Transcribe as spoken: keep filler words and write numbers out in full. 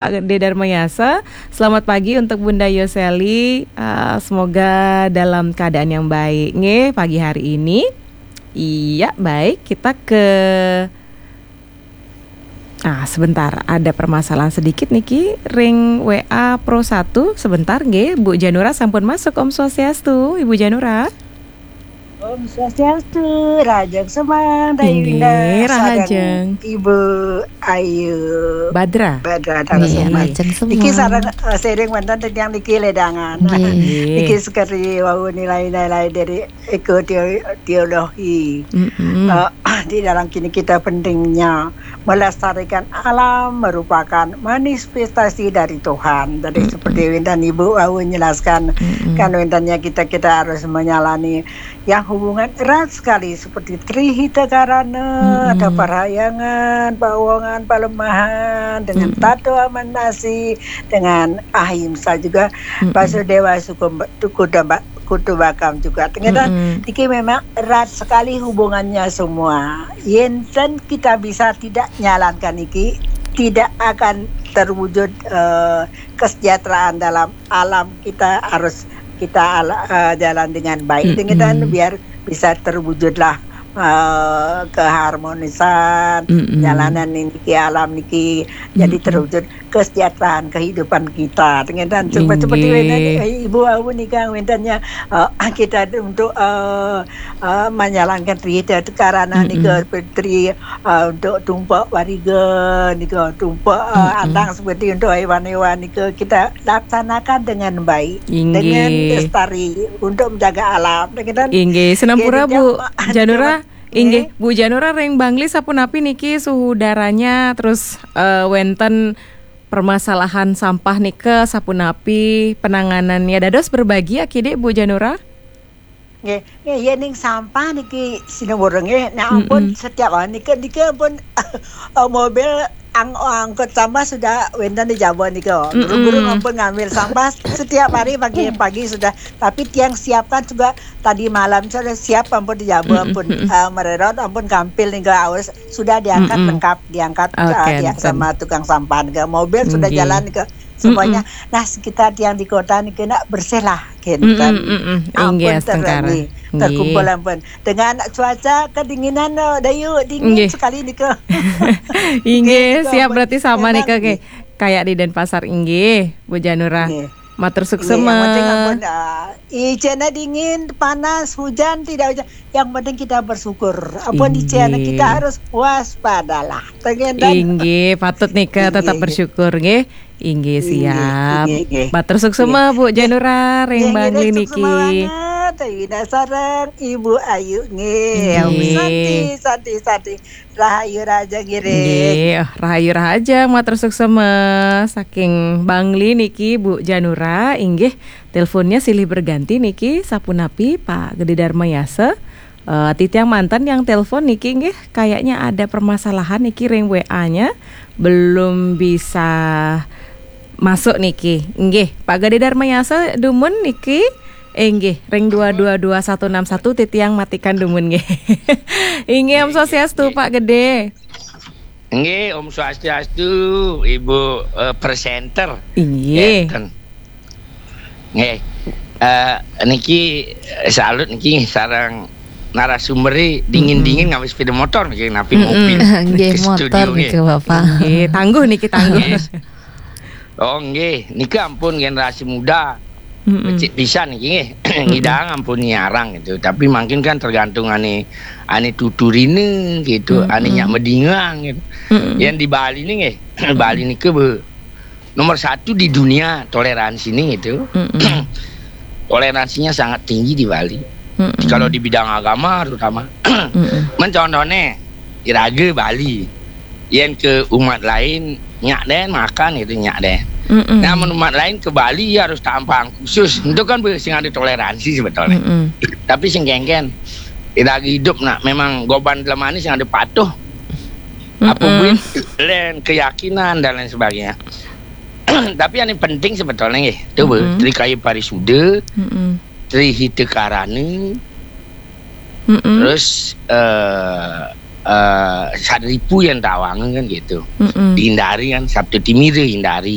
Pak Gede Darmayasa. Selamat pagi untuk Bunda Yoseli. Ah, semoga dalam keadaan yang baik, nggih, pagi hari ini. Iya, baik. Kita ke, ah, sebentar, ada permasalahan sedikit niki. Ring W A Pro satu, sebentar, nggih. Bu Janura sampun masuk. Om Swastiastu, Ibu Janura. Om Swastiastu, Rahajeng Semeng, Dayu Indah, Rahajeng. Ibu Ayu. Badra. Badra, Rahajeng Semeng. Niki sareng, eh, sering wonten tiyang niki ledangan. Nggih. Niki sekali wau nilai-nilai dari eko teo-, teologi. Mm-mm. Eh, di dalam kini kita pentingnya melestarikan alam merupakan manifestasi dari Tuhan. Jadi, mm-mm, seperti wonten Ibu wau menjelaskan, mm-mm, kan wontennya kita, kita harus menyalani yang hubungan erat sekali seperti Tri Hita Karana, mm-mm, ada Parahyangan, Pawongan, Palemahan, dengan, mm-mm, Tato Amanasi, dengan Ahimsa juga, mm-mm, Basudewa Sukumba-, Tukudamba-, Kutubakam juga. Ternyata, mm-mm, niki memang erat sekali hubungannya semua. Yen ten kita bisa tidak nyalankan niki, tidak akan terwujud, eh, kesejahteraan dalam alam kita, harus kita ala-, eh, jalan dengan baik. Mm-mm. Dengan biar bisa terwujudlah, eh, keharmonisan, mm-mm, jalanan niki, alam niki, jadi, mm-mm, terwujud kesejahteraan kehidupan kita. Dengan seperti, inggih, wonten, eh, Ibu wau nika wontennya, eh, kita untuk, eh, eh, menjalankan Tri Hita Karana, mm-mm, nika, seperti, eh, untuk tumpek wariga nika, tumpek, eh, mm-mm, andang seperti untuk hewan-hewan nika kita laksanakan dengan baik, inggih, dengan lestari untuk menjaga alam. Dengan, inggih, sinampura, nggih, Bu Janura. Nggih. Inggih, Bu Janura, ring Bangli sapunapi niki suhu udaranya, terus, eh, wonten permasalahan sampah nika sapunapi penanganannya? Dados berbagi ya, kidik, Bu Janura? Nggih, nggih, yen ning sampah niki sinamureng nggih. Nah, ampun, mm-mm, setiap hari nika, nika ampun, eh, mobil ang-, angkut sampah sudah wonten di jaba nika. Mm-mm. Guru-guru ampun ngambil sampah setiap hari pagi-pagi sudah. Tapi tiang siapkan juga tadi malam sudah siap ampun di jaba, mm-mm, ampun, mm-mm, eh, mererot, ampun kampil nika, harus sudah diangkat, mm-mm, lengkap, diangkat, oke, eh, dia enten, sama tukang sampah nika. Mobil sudah, nggih, jalan nika. Semuanya. Mm-mm. Nah, sekitar tiang di kota niki nak bersih lah, kinten. Mm-mm, mm-mm. Ampun, inggih, astungkara, terani, nggih, terkumpul ampun. Dengan cuaca kedinginan, eh, Dayu, dingin, nggih, sekali nika. Inggih, nggih, nika siap ampun. Berarti sama, enak, nika, nggih, nggih, kayak di Denpasar, inggih, Bu Janura. Nggih. Matur, nggih, suksema. Yang penting ampun, ah, ijena dingin, panas, hujan, tidak hujan. Yang penting kita bersyukur. Ampun, inggih, ijena kita harus waspadalah. Tengen dan, inggih, patut nika, inggih, tetap bersyukur, nggih. Inggih, inggih, siap. Inggih, inggih. Matur suksema, inggih, Bu Janura, ring Bangli niki. Inggih, nggih, suksema banget. Ayu Indah sareng Ibu Ayu, nggih. Nggih. Santi, santi, santi. Rahayu rahajeng ngiring. Nggih, rahayu rahajeng, matur suksema. Saking Bangli niki, Bu Janura, inggih, teleponnya silih berganti niki, sapunapi, Pak Gede Darmayasa. Eh, titiang manten yang telepon niki, nggih, kayaknya ada permasalahan niki ring W A-nya, belum bisa masuk niki. Nggih, Pak Gede Darmayasa dumun niki. Eh, nggih, ring dua dua dua satu enam satu titiang matikan dumun, nggih. Inggih, Om Swastiastu, nggih, Pak Gede. Nggih, Om Swastiastu, Ibu, eh, presenter. Inggih. Enten. Nggih. Eh, niki, eh, salut niki sareng narasumber, dingin-dingin, mm-mm, nggawe sepeda motor niki, napi, mm-mm, mobil. Nggih, ke studio, motor niki, nggih, Bapak. Nggih, tangguh niki, tangguh. Nggih. Oh, nggih, niki ampun generasi muda. Mm-mm. Becik pisan niki, nggih. Mm-mm. Ngidang ampun nyiarang gitu. Tapi mungkin kan tergantung ane, ane tuturine gitu, mm-mm, ane nyak medingang gitu. Mm-mm. Yang di Bali nih, nggih. Bali niki be-, nomor satu di dunia toleransi nih gitu. Mm-mm. Toleransinya sangat tinggi di Bali. Mm-mm. Kalau di bidang agama terutama. Mm-mm. Men contohnya, iraga Bali. Yen ke umat lain, nyak den makan gitu, nyak den. Mm-mm. Nah, men umat lain ke Bali, ya harus tampang khusus. Itu kan be-, sing ada toleransi sebetulnya. Mm-mm. Tapi sing kengken, iraga hidup nak memang goban telemani sing ada patuh. Apa, mm-mm, buin, len keyakinan dan lain sebagainya. Tapi yang penting sebetulnya nggih, itu be-, mm-mm, Tri Kaya Parisuda, mm-mm, Tri Hita Karana, mm-mm, terus, eh, uh, saripu yang tawang kan gitu. Mm-mm. Dihindari kan, sabda timira hindari.